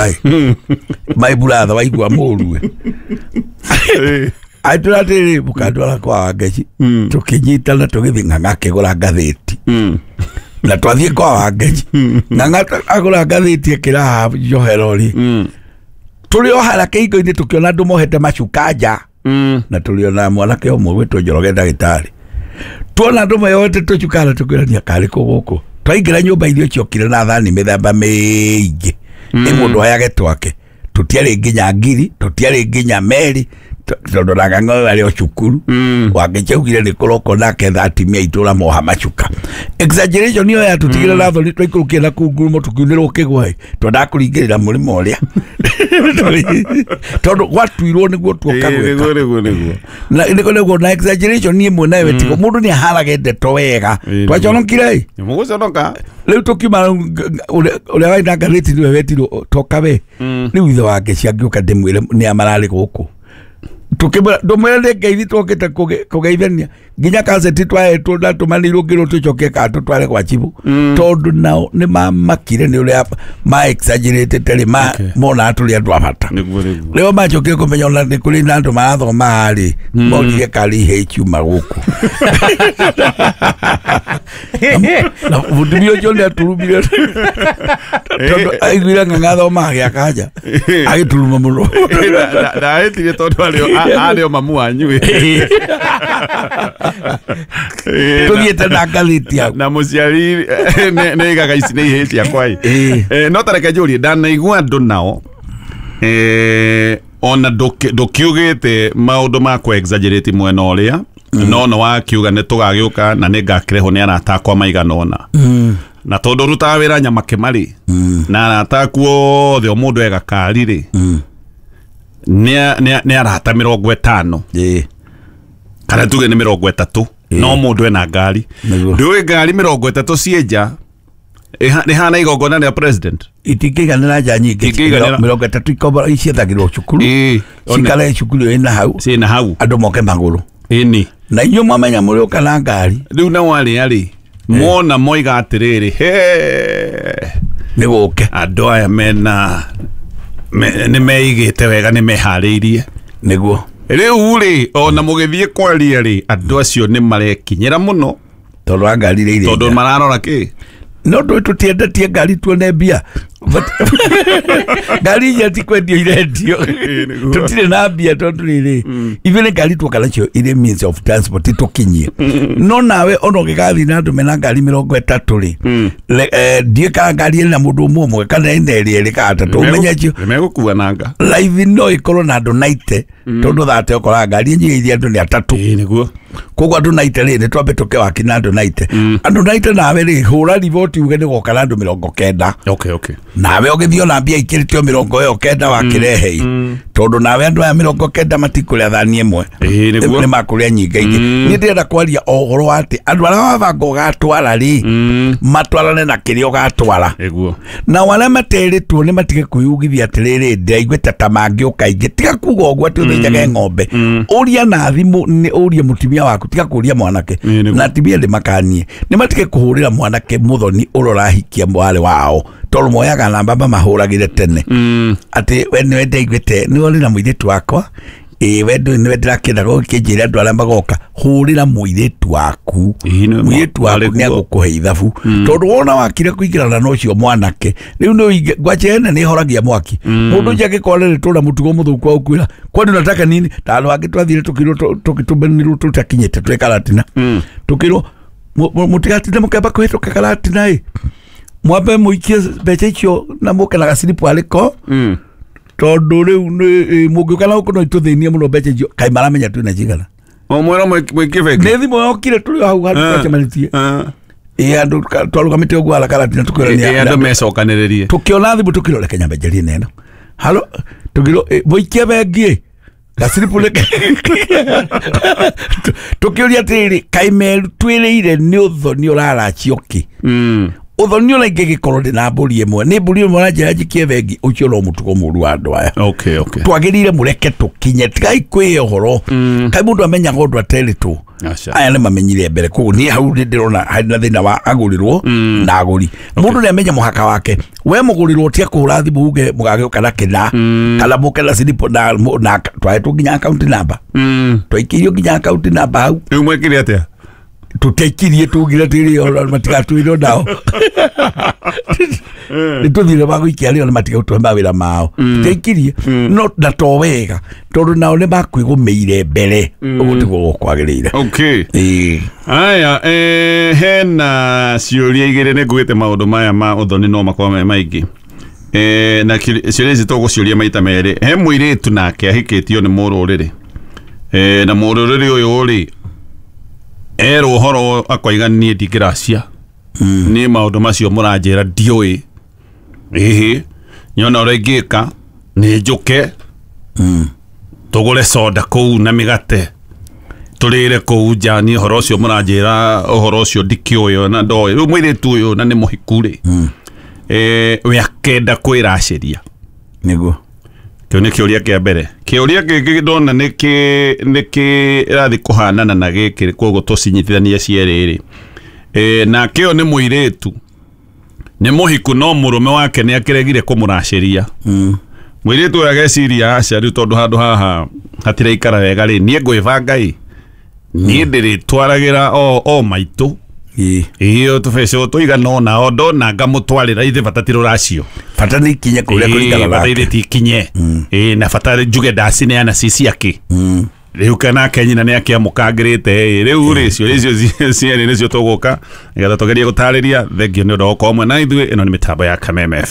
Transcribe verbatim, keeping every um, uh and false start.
ĩ my brother waigua mũru ĩ atwĩra atĩrĩrĩ mũkandwara kwa Wangeci tũkĩnyitana tũgĩthiĩ Ng'ang'a akĩgũra ngathĩti na twathiĩ kwa Wangeci Ng'ang'a agũra ngathĩti ĩkĩra haha njohero rĩ tũrĩ o harĩa kĩhingo-inĩ tũkĩona andũ mohete macuka nja na tũrĩ ona mwanake ũmwe gwĩtwo Njoroge ndagĩtarĩ tuona andũ meyoete tũcuka na tũkĩrania karĩ kũ gũkũ twaingĩra nyũmba irio ciokire na thani mĩthemba mĩingĩ nĩ mũndũ oyage twake tũtiarĩ nginya ngiri tũtiarĩ nginya meri tondũ na Ng'ang'a arĩ o cukuru Wangeci augire nĩ kũroko nake tha atimia itũra moha macuka exaggeration ĩyo yatũtigire na thoni twaikũrũkire na kũu ngurumo tũkiunĩrwo kĩgwa ĩ twendaga kũringĩrĩra mũrĩmo ũrĩa tondũ gwatuirwo nĩguo tuoka gwĩka nĩguo nĩguo na nĩguo nĩguo na exaggeration niĩ ĩmwe nayo tigo mũndũ nĩ aharage ndeto wega twaconokire ĩ mũgũconoka rĩu tũkiuma ũrĩa warĩ na ngathĩti nĩwe wetirwo toka we rĩu ithe Wangeci angĩũka ndĩmwĩre nĩa mararĩ gũkũ tukimwĩra ndũmwĩre nĩ ngeithi twokĩte kũgeithania nginya kaseti twahetwo na tũmanĩirwo ngĩrwo tũcoke kana tũtware gwa chibũ tondũ nao nĩ mamakire nĩ ũrĩa ma exaggeratĩte rĩ monaga tũrĩ andũ a bata rĩo macokire kũmenya ona nĩ kũrĩ na andũ marathomaga rĩ morire karĩ ihe ikiuma gũkũ na mũtumia ũcio nĩ aturumire tondũ aiguire Ng'ang'a athomaga gĩa kanja agĩturuma mũno ndahĩtire tondũ arĩ o mamu wanyu tũthiĩte na ngathĩti yaku na mũciari nĩ aigaga ici nĩ ihĩĩ ciakwa ĩ no ta reke njũrie ndanaigua andũ nao ona ndũkiugĩte maũndũ ma kũ exaggerate mwena ũrĩa no no wakiuga nĩ tũgagĩũka na nĩ ngakĩrehwo nĩ arata akwa maigana ũna na tondũ rutaga wĩra Nyamakĩma rĩ na arata aku othe o mũndũ ega kari rĩ nĩ arata mĩrongo ĩtano kana tuge nĩ mĩrongo ĩtatũ no mũndũ ena ngari ndũĩ ngari mĩrongo ĩtatũ ciĩ nja ĩhana igongona rĩa president itingĩiganĩra nja nyingĩ mĩrongo ĩtatũ ikombora ciethagĩrwo cukuru cikare cukuru ĩna hau ciĩna hau andũ moke magũrũ ĩni na inyuĩ mwamenya mũrĩũka na ngari rĩu nao arĩa rĩ mona moiga atĩrĩrĩ he nĩ gũke andũ aya mena nĩ meigĩte wega nĩ meharĩirie nĩguo rĩu rĩ ona mũgĩthiĩ kwaria rĩ andũ acio nĩ marekinyĩra mũno tondũ wa ngari iria irĩ tondũ mararora kĩ no ndũĩ tũtiendetie ngari tuone mbia ngari iria ti kwendio irendio tũtirĩ na mbia tondũ rĩrĩ ithuĩ nĩ ngari tuoka nacio irĩ means of transport tũkinyie no nawe ona ũngĩgathiĩ na andũ mena ngari mĩrongo ĩtatũ rĩ ndiĩ kana ngari ĩna mũndũ ũmwe ũmwe kana ĩna ĩrĩ ĩrĩ kana atatũ ũmenye cio nĩmegũkua nanga raithi no ĩkorwo na andũ naite tondũ thate ũkoraga ngari ĩnyihĩirie andũ nĩ atatũ nĩguo koguo andũ naite rĩ nĩ twambe tũke waki na andũ naite andũ naite nawe rĩ hũra riboti uge nĩ goka na andũ mĩrongo kenda okay okay nawe ũgĩthiĩ ona mbia ikĩrĩtio mĩrongo ĩyo kenda wakĩrehe tondũ nawe andũ aya mĩrongo kenda matikũrĩa thani ĩmwe nĩ makũrĩa nyingĩ ingĩ niĩ ndĩrenda kwaria o ũhoro wa atĩ andũ arĩa wabanga ũgatwara rĩ matwarane na kĩrĩa ũgatwara nao arĩa materĩtwo nĩ matige kwĩyugithia atĩrĩrĩ ndĩraiguĩte ta mangĩũka aingĩ tiga kuga ũguo atĩ ũthĩnjage ng'ombe ũria na thimũ nĩ ũrie mũtumia waku tiga kũria mwanake na atumia nĩ makanie nĩ matige kũhũrĩra mwanake mũthoni ũrĩa ũrahikia mwarĩ wao tondũ moyaga namba mamahũragĩre tene atĩ we nĩwe ndaiguĩte nĩwe ũrĩ na mũirĩtu wakwa ĩĩ we ndũĩ nĩwe ndĩrakĩenda gũkĩnjĩra andũ arĩa magoka hũrĩra mũirĩtu waku mũirĩtu waku nĩ agũkũhe ithabu tondũ wona wakire kũingĩrana na ũcio mwanake rĩu nĩ ngwache ene nĩ ĩhoragia mwaki mũndũ ũcio angĩkorwo nĩ tũra mũtugo mũthũku wa gũkwĩra kwani unataka nini ta andũ angĩ twathire tũkĩrwo tũgĩtũmanĩrwo tũtakinyĩte twĩ karatina tũkĩrwo mũtigatinde mũkĩamba kũhĩtũka karatina ĩ mwambe mũikie mbeca icio na mũke na gaciripu arĩko tondũ rĩu mũngĩũka na gũkũ no itũthĩnie mũno mbeca icio kaĩ maramenya twĩna cigana o mwĩra mũikie bengi nĩ thimũ yokire tũrĩ o hau handũ twacemanĩtie ĩ andũ twarũgamĩte ũguo ara karatina tũkĩrania andũ mecokanĩrĩrie tũkĩona thimũ tũkĩrwo reke nyambe njarie na ĩno halo tũkĩrwo mũikie bengi gaciripu reke tũkĩũria atĩrĩrĩ kaĩ meru twĩrĩire nĩ ũthoni ũraracio kĩ Ũthoni ona ingĩgĩkorwo ndĩ na mbũri ĩmwe, nĩ mbũri ĩmwe ũranjĩra njikie bengi, ũcio no mũtugo mũru wa andũ aya. Okay, okay. Twagĩrĩire mũreke tũkinye, tigai kwĩhe ũhoro. Kaĩ mũndũ amenyaga ũndũ aterĩtwo? Aca. Aya nĩ mamenyire mbere, koguo niĩ hau nĩ ndĩrona harĩ na thĩna wa agũrĩrwo na agũri. Mũndũ nĩ amenya mũhaka wake. We mũgũrĩrwo tia kũhũra thimũ uge mũgagĩũka na kĩna kana mũke na slip na na twahetwo nginya account number. Twaikĩirio nginya account number hau. Rĩu mwekire atĩa? Tũtiaikirie, tugire tĩrĩ matigatwĩrwo nao. Nĩ tũthire magũikia rĩo nĩ matigũtũhe mawĩra mao. Tũtiaikirie no na to wega tondũ nao nĩ makwĩgũmĩire mbere, ũguo tiguo gũkwagĩrĩire. Okay. Ĩĩ. Aya, eh, hena ciũria igĩrĩ nĩ ngugĩte maũndũ maya ma ũthoni no makorwo me maingĩ. Eh, na kĩ- ciũria ici tũgũciũria maita merĩ. He mũirĩtu nake ahikĩtio nĩ mũrũrĩrĩ. Eh, na mũrũrĩrĩ ũyũ rĩ erwo ũhoro akoiga niĩ ndingĩracia. Niĩ maũndũ macio mũranjĩra ndiũĩ. Ĩhĩ, nyona ũrĩa ingĩka nĩ njũke tũgũre soda kũu na mĩgate tũrĩre kũu nja, niĩ ũhoro ũcio mũranjĩra ũhoro ũcio ndikĩũĩ na ndoĩ. Rĩu mũirĩtu ũyũ na nĩ mũhiku rĩ, eh, we akenda kwĩracĩria. Nĩguo. Kĩu nĩ kĩũria kĩa mbere. Kĩũria kĩngĩ ndona nĩ kĩ nĩ kĩrathiĩ kũhanana na gĩkĩ, koguo tũcinyitithanie cierĩ rĩ. Eh, nake ũyũ nĩ mũirĩtu nĩ mũhiku no mũrũme wake nĩ akĩregire kũmũracĩria. Mũirĩtu ũyũ ageciria aca rĩu tondũ handũ haha hatiraikara wega rĩ, niĩ ngwĩbanga ĩ, niĩ ndĩrĩtwaragĩra o o maitũ Ĩĩ. ĩyo tũbeca tũigana ũna o ndona ngamũtwarĩra ithe bata ti rũracio. Bata nĩ ikinye kũrĩa kũringana bata nake. ithe ti ikinye. Ĩĩ, na bata njuge ndacineana ci ciake. Rĩu kanake nyina nĩ akĩamũkangĩrĩte ĩ, rĩu rĩ ciũria icio cierĩ nĩcio tũgũka nĩgetha tũgerie gũtarĩria. Thengio nĩ ũndũ wa gũkorwo mwena ithuĩ. Ĩno nĩ mĩtambo ya Kameme.